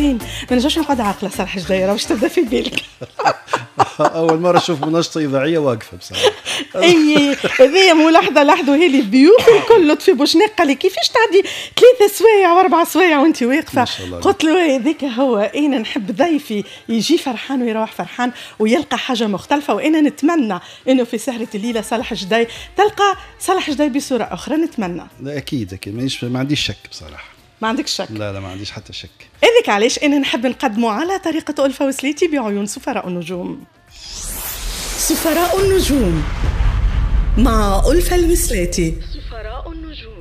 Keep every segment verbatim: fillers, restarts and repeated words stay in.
الانسان ما نجمش نقعد عاقلة. صالح جديرة باش تبدا في بالك. اول مرة اشوف مناشطه اذاعية واقفة بصراحة. اي هذه ملاحظة لاحظوها لي الضيوف الكل. لطفي بوشناق قال لي كيفاش تعدي ثلاثة سوايع واربع سوايع وانت واقفة؟ قلت له هذاك هو، انا نحب ضيفي يجي فرحان ويروح فرحان ويلقى حاجة مختلفة، وانا نتمنى انه في سهره الليلة صالح جدي تلقى صالح جدي بصورة اخرى. نتمنى. لا اكيد اكيد، مانيش ما عنديش شك بصراحة. ما عندكش شك؟ لا لا ما عنديش حتى شك. هذاك علاش انا نحب نقدمه على طريقه ألفة وسليتي بعيون سفراء النجوم. سفراء النجوم مع ألفة الوسلاتي. سفراء النجوم.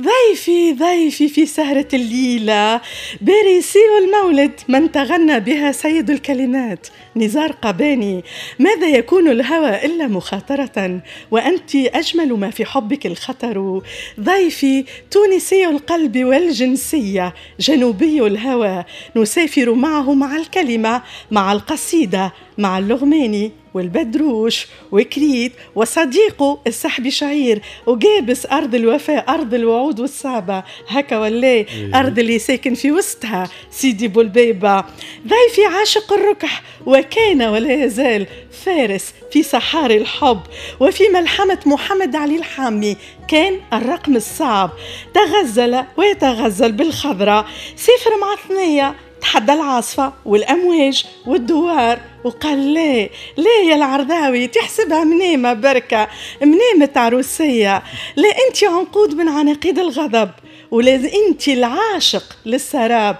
ضيفي ضيفي في سهرة الليلة باريسي المولد من تغنى بها سيد الكلمات نزار قباني. ماذا يكون الهوى إلا مخاطرة وأنت أجمل ما في حبك الخطر. ضيفي تونسي القلب والجنسية، جنوبي الهوى، نسافر معه مع الكلمة، مع القصيدة، مع اللغماني والبدروش وكريت وصديقه السحبي شعير وجابس، أرض الوفاء، أرض الوعود والصعبة، هكا ولا إيه. أرض اللي ساكن في وسطها سيدي بولبيبة. ضيفي عاشق الركح وكان ولا يزال فارس في صحاري الحب وفي ملحمة محمد علي الحامي كان الرقم الصعب، تغزل ويتغزل بالخضرة، سافر مع ثنية، تحدى العاصفة والأمواج والدوار وقال لا لا يا العرضاوي تحسبها منامة بركة، منامة عروسية، لا أنت عنقود من عناقيد الغضب، ولا أنت العاشق للسراب،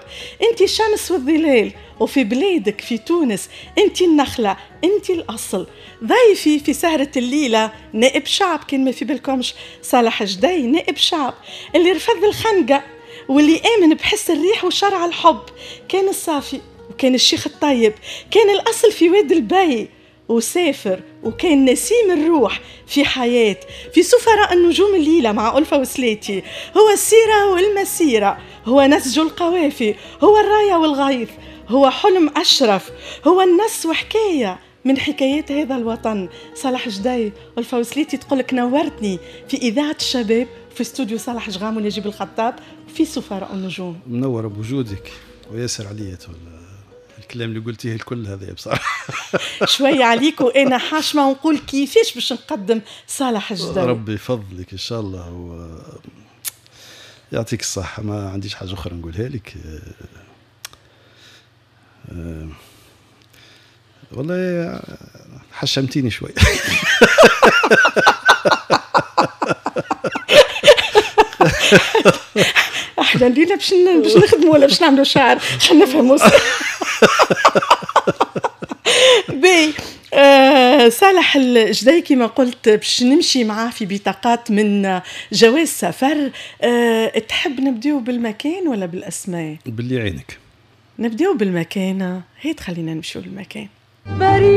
أنت الشمس والظلال، وفي بلادك في تونس أنت النخلة، أنت الأصل. ضيفي في سهرة الليلة نائب شعب، كان ما في بالكمش صالح جدي نائب شعب اللي رفض الخنقة واللي آمن بحس الريح وشرع الحب، كان الصافي وكان الشيخ الطيب، كان الأصل في واد البي وسافر وكان نسيم الروح في حياة. في سفراء النجوم الليلة مع ألفة وسلاتي هو السيرة والمسيرة، هو نسج القوافي، هو الراية والغيث، هو حلم أشرف، هو النص وحكاية من حكايات هذا الوطن. صالح جدي، ألفة وسلاتي تقولك نورتني في إذاعة الشباب، في استوديو صالح جغام ونجيب الخطاب، في سفراء النجوم. منورة بوجودك وياسر عليا الكلام اللي قلتيه الكل هذا بصراحة. شوية عليك وأنا حاشمة ونقول كيفاش باش نقدم صالح جدي. ربي يفضلك إن شاء الله و... يعطيك الصحة، ما عنديش حاجة أخرى نقولها لك. والله حشمتيني شوي. احنا الليلة باش باش نخدموا ولا باش نعملوا شعر خلينا نفهموا. باهي آه صالح الجدي كما قلت باش نمشي معاه في بطاقات من جواز سفر. آه تحب نبداو بالمكان ولا بالاسماء؟ باللي عينك. نبداو بالمكان، هي تخلينا نمشيو للمكان.